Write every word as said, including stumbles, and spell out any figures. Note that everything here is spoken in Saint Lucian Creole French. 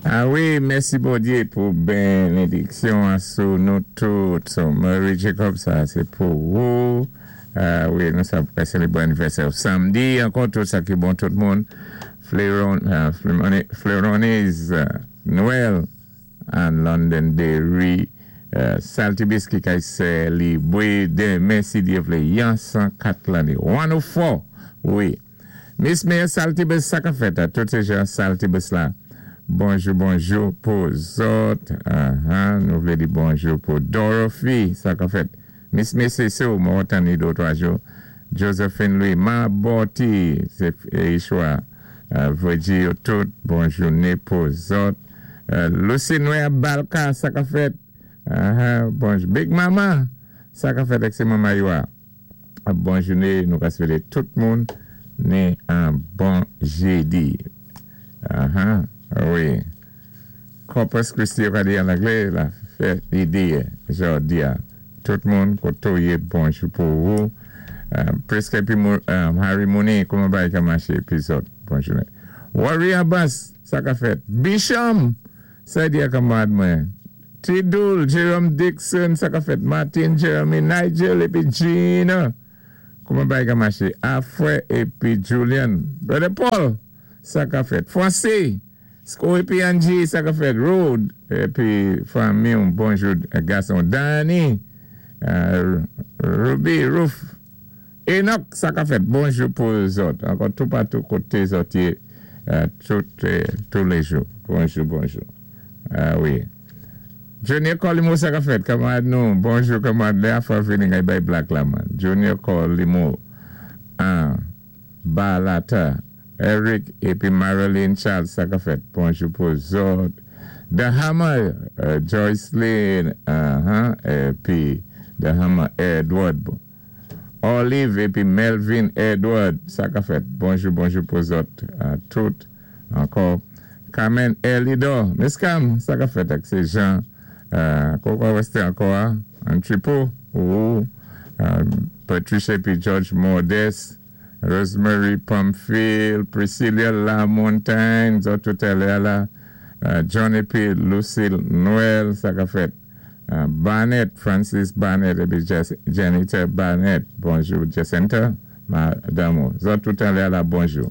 Ah wi, mèsi Bondyé pou bénédiksyon sou nou tout. So, Mary Jacob, sa sé pou ou. Ah wi, nou sa pou sélébwé anivèsè samdi. Ankò tout sa ki bon tout moun. Fleron, uh, Fleronis, uh, Noël, an London Derry. Uh, Salty Biscuit ki sélébré denmen si Dye vlé. Yon san kat lanné. san kat, wi. Miss Mayor Salty Biscuit, sa ka fèt, tout sé jan Salty Biscuit la. Bonjou, bonjou pou zòt. Uh-huh. Nou vlé di bonjou pou Dorothy, sa ka fèt. Miss Missy Sue, mwen tann ni dé twa jou. Josephine Louis, Ma Boti, sé Ishwa. Uh, Virgil, tout, bonjou né pou zòt. Uh, Lucy Noé Balka, sa ka fèt. Uh-huh. Bonjou. Big Mama, sa ka fèt ak sé Mama Yoa. Bonjou né, nou ka swété tout moun né an bon jédi. Uh-huh. Wi. Corpus Christi, yo ka di an anglé, la fèt idi, jòdi a. Tout moun, koto yé, bonjou pou ou. Uh, Preske épi um, Harry Mooney, kouman bagay ka maché, épi zòt, bonjou. Warrior Abbas, sa ka fèt. Bisham, sa di a kanmarad mwen. Tidul, Jerome Dixon, sa ka fèt. Martin, Jeremy, Nigel, épi Gina. Kouman bagay ka maché? Afre, épi Julian. Brother Paul, sa ka fèt. Francis, Sko épi Angie, sa ka fèt. Road, épi fanmi, bonjou, gason. Danny, uh, Ruby, Roof. Enoch, sa ka fèt. Bonjou pou zòt. Ankò tout patou koté zòt yé, uh, tout, euh, tous les jours. Bonjou, bonjou. Ah wi. Junior Colimo, sa ka fèt. Kanmarad nou. Bonjou, kanmarad. Lè a fwa vini ngay bay black la man. Junior Colimo. Ah, Balata. Eric épi Marilyn Charles, sa ka fèt. Bonjou pou zòt. The Hammer, uh, Joycelyn, uh-huh, épi The Hammer Edward. Olive épi Melvin Edward, sa ka fèt. Bonjou, bonjou pou zòt. Uh, tout, ankò. Carmen Elidor, Miss Cam, sa ka fèt ak sé Jean. Uh, Koko Weste ankò, an tripo, ou, uh, Patricia épi George Modeste, Rosemary Pamphile, Priscilla Lamontagne, zòt tout la la, uh, John épi Lucille Noël, sa ka fèt. Uh, Barnett, Francis Barnett épi Janita Barnett, bonjou. Jacinta, madanm, zòt tout la la, bonjou.